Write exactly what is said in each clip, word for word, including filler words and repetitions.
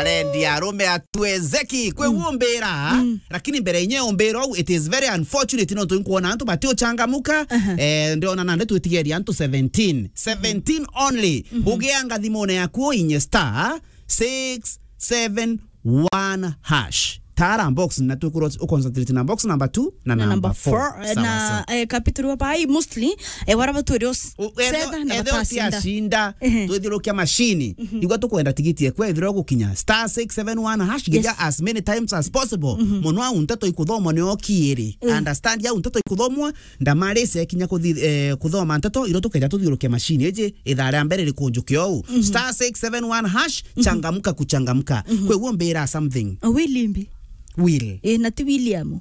Rendi arume atuezeki. Kwi umbira, lakini mbere inye umbira uu, it is very unfortunate, no twinkuona antu bati uchangamuka. Aha. Eh, ndiona nande twitigeria antu seventeen. Seventeen only. Ugianga thimune yaku inye star six seven one hash. Tara box na twikuru uconcentrate na box number two na Na number number four. four, eh, Sawa, na, sawa. eh, capital wa bai mostly, eh, wara batwire us-, U-, etho-, setha na etho batacinda. tiacinda, Ehe. twithiurukia mashini. Igua tukwenda tigiti ekwe ithira gukinya star six seven one hash, geja Yes. as many times as possible. Mono au nteto ikuthomwa ni okiiri. Mm. Understand au nteto ikuthomwa, ndamarisi ekinya kuthi-, eh, kuthoma nteto, iro tukeja tuthiurukia mashini iji ithaa ria mbere rikunjuke ou. Star six seven one hash, changamka kuchangamka. Kweguo mbira something. Willy mbi. Will. Eh, na ti William.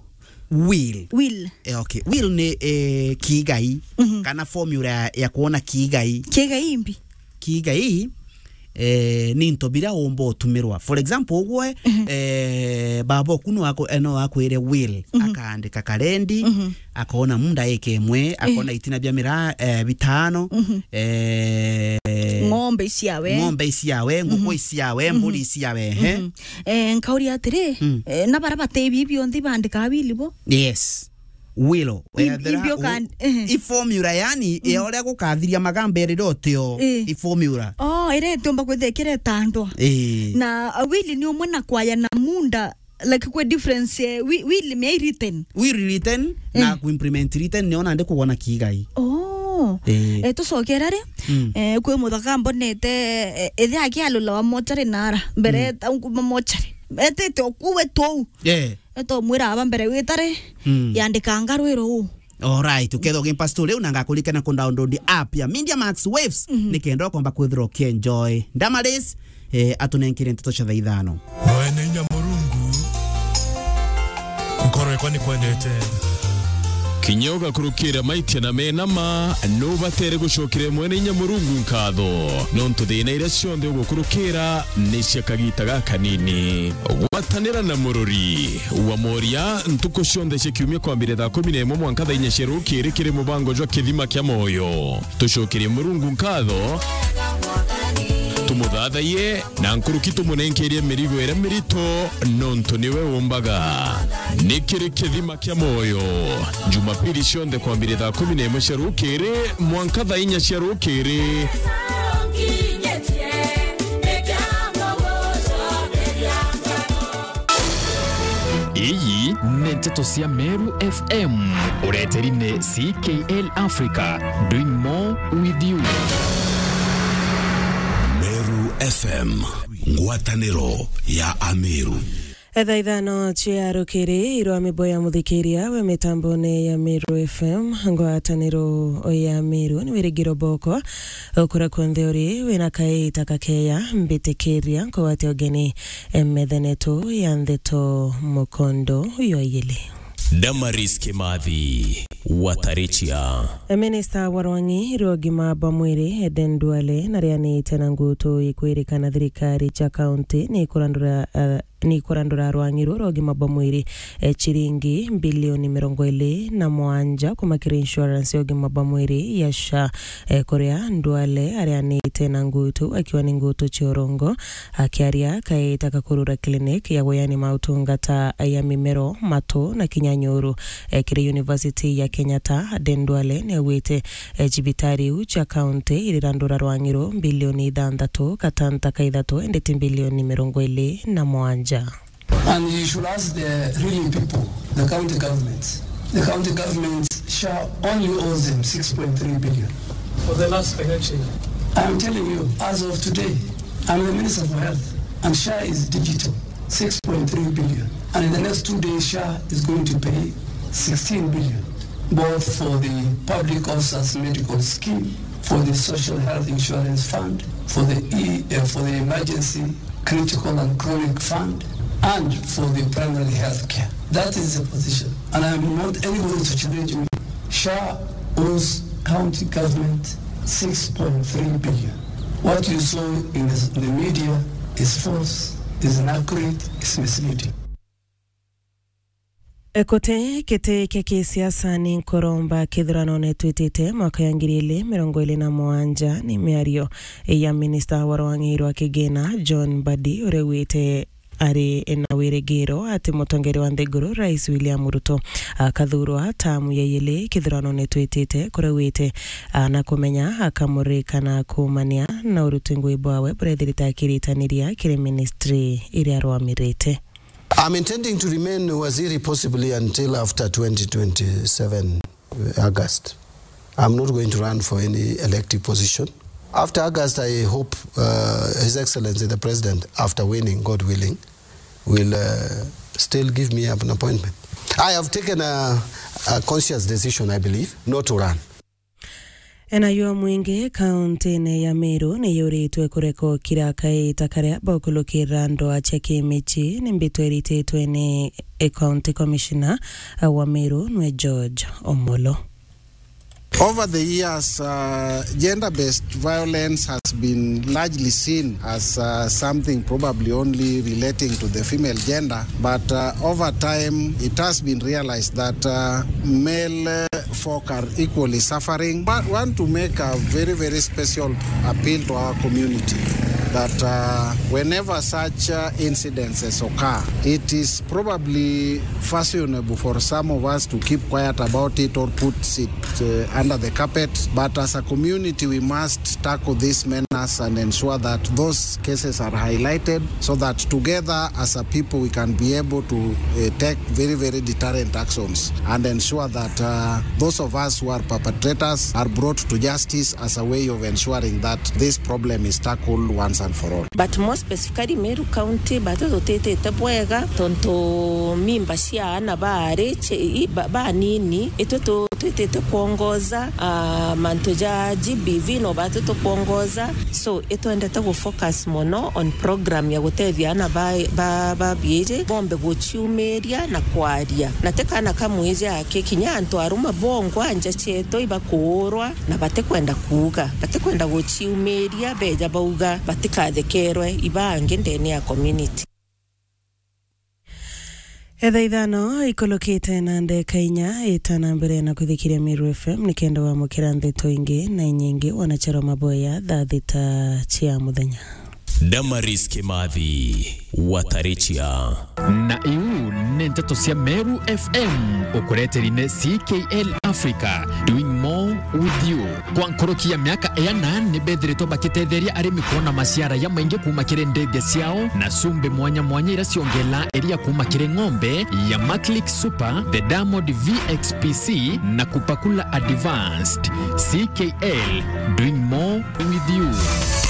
Will. Will. Eh, okay. Will ni, eh, kiigai, kana formula ya, ya kuona kiigai. Kiigai mbi. Kiigai, eh, ni into biria umba utumirwa. For example, ugwe, eh, baba oku no aku-, eh, no akwire will, akaandika karendi, akaona munda eke imwe, akaona itina bia miraa, eh, bitano, eh, Ng'ombe iciawe. ng'ombe iciawe, nguku iciawe, mburi iciawe, ehe. Eh, nkauria atiri, Mm. eh, na bara bate ibi bionthe bandika will bo? Yes. Will. Ib-, Wethira ibio u-, kan-, ehe. i formula, yani, ya uria gukathiria magamba iri ri utio, Eh. i formula. Oh, ire itiumba kwithira ikiretandwa. Eh. Na, uh, will ni umwe na kwaya na munda, like, kwi difference, eh, wi-, will me written. Will written na Eh. ku implement written ni ona ndi kugona kiigai. Oh. Eh. Eh, tucokera ri? Mm. Eh, kwi muthaka mbonete, eh, ithe akialula wa mochari nara. Mbere Mm. ta nkuma mochari. Etete okuwe tou. Eh. Eto mwira aba mbere witari, Mm. yandikanga rwiro uu. Alright, ukethwa ugimpa story riu na ngakuririkana ku download app ya Media Max Waves, nikenda ukomba kwithirwa ukienjoy. Damaris, eh, atunenkire nteto cia thaa ithano. Mwene inya Murungu, nkoro yakwa nikwendete. Kinya ugakurukira maitia na mena ma, nubatere gucokera mwene inya Murungu nkatho, nontu thina iria cionthe ugukurukira ni cia kagita gakanini. Gwatanira na murori wa moria ntuku cionthe cia kiumia kwambire thaa kumi na imwe mwanka thaa inya cia rukiri kiri mubango jwa Kithima kia Moyo. Tucokerie Murungu nkatho, tumuthathaiye, na nkuruki tumunenkerie mirigo iria mirito, nontu niwe umbaga. Ni kiri Kithima kia Moyo, Jumapili cionthe kwambire thaa kumi na imwe cia rukiri mwanka thaa inya cia rukiri. Iyi ni nteto cia Meru F M. Ureteri ni C K L Africa, doing more with you. Meru F M, ngwataniro ya Ameru. Thaa ithano cia rukiri, irwa mibo ya muthikiria we mitambone ya Meru F M, ngwataniro ya Meru, ni wirigiro boko. Ukura kunthe uri, wina kaita kakeya, mbitikiria nkugwate ugeni, eh, methenetu ya ntheto mukondo ywa igili. Damaris Kimathi, Watarichia. Minista wa rwang'i rwa ugima bwa mwiri, Eden Duale, narianite na ngutu ikwirikana thirikari cia kaunti ni ikurandura, eh, ni ikurandura rwang'i ruru rwa ugima bwa mwiri, eh, chiringi mbilioni mirongo iri na mugwanja kuma kiri insurance ya ugima bwa mwiri ya SHA. Eh, kuria Duale arianite na ngutu akiwa ni ngutu cia urongo, akiaria kaita ka kurura clinic ya guyani mautungata ya mimero, matu na kinya nyuru, eh, kiri University ya Kenyatta, Eden Duale niaugite, eh, cibitari iu cia kaunti irirandura rwang'i ru mbilioni ithanthatu gatanta ka ithatu, indi ti mbilioni mirongo iri na mugwanja. And you should ask the real people, the county governments. The county governments, SHA only owes them six point three billion. For the last financial year. I'm telling you, as of today, I'm the Minister for Health, and SHA is digital, six point three billion. And in the next two days, SHA is going to pay sixteen billion, both for the public officers medical scheme, for the social health insurance fund, for the e-, uh, for the emergency critical and chronic fund, and for the primary health care. That is the position. And I want anybody to challenge me. SHA owes county government six point three billion. What you saw in the, the media is false, is inaccurate, is misleading. Kuti giti kia kisiasa ni nkuromba kithuranone twitite mwaka ya ngiri ili mirongo ili na mugwanja, ni miario ya minista wa rwang'i rwa kigina John Mbadi, uria augite ari na wirigiro ati mutongeria wa nthiguru Rais William Ruto akathurwa tamu ya ili kithuranone twitite, kuria augite na kumenya akamurika na kumania na uruti ngui bwawe buria ethirite akiritaniria kiri ministry iria arwamirite. I'm intending to remain waziri possibly until after twenty twenty-seven, uh, August. I'm not going to run for any elective position. After August, I hope, uh, His Excellency the President, after winning, God willing, will, uh, still give me an appointment. I have taken a, a conscious decision, I believe, not to run. Enayo mwingi kauntine ya Meru ni yuritwe kureka ukira kaita karia bakulukira ndwaa cia kimici ni mbitwa irititwe ni County Commissioner wa Meru nwe George Omolo. Over the years, uh, gender-based violence has been largely seen as, uh, something probably only relating to the female gender, but, uh, over time it has been realized that, uh, male, uh, folk are equally suffering. But want to make a very, very special appeal to our community that, uh, whenever such, uh, incidences occur, it is probably fashionable for some of us to keep quiet about it or put it, uh, under the carpet. But as a community, we must tackle this menace and ensure that those cases are highlighted, so that together as a people we can be able to, uh, take very, very deterrent actions and ensure that, uh, those of us who are perpetrators are brought to justice as a way of ensuring that this problem is tackled once and for all. But more specifically, Meru County, batu tutitite bwega tontu mimba cia ana baari ci-, i-, ba-, banini, itwe tu-, twitite kwongoza, ah, mantu ja G B V no batu tukwongoza. So, itwendete gu focus mono on program ya gutethia ana ba, ba, ba biiji bombe guciumiria na kwaria. Na ti kana ka mwiji aki, kinya antu aruma bongwa nja cietu ibakuurwa na batikwenda kuuga, batikwenda guciumiria, beja bauga batikathekerwe ibangi ndene ya community. Etha ithano ikulukite na ndeka inya, ita na mbere na kwithikiria Meru F M nikenda wamukira ndeto ingi na inyingi. Wanacharo maboya thaa thita cia muthenya. Damaris Kimathi, Watarichia. Na iu ni nteto cia Meru F M, ukureteri ni C K L Africa, doing more with you. Kwa nkuruki ya miaka iana, ni bethiritwe bakitetheria arimi kwona maciara jamaingi kuuma kiri ndege ciao na cumbi mwanya mwanya iria ciongelaa iria kuuma kiri ng'ombe ya Maclick Super, the Diamond V X P C na Kupakula Advanced. C K L, doing more with you.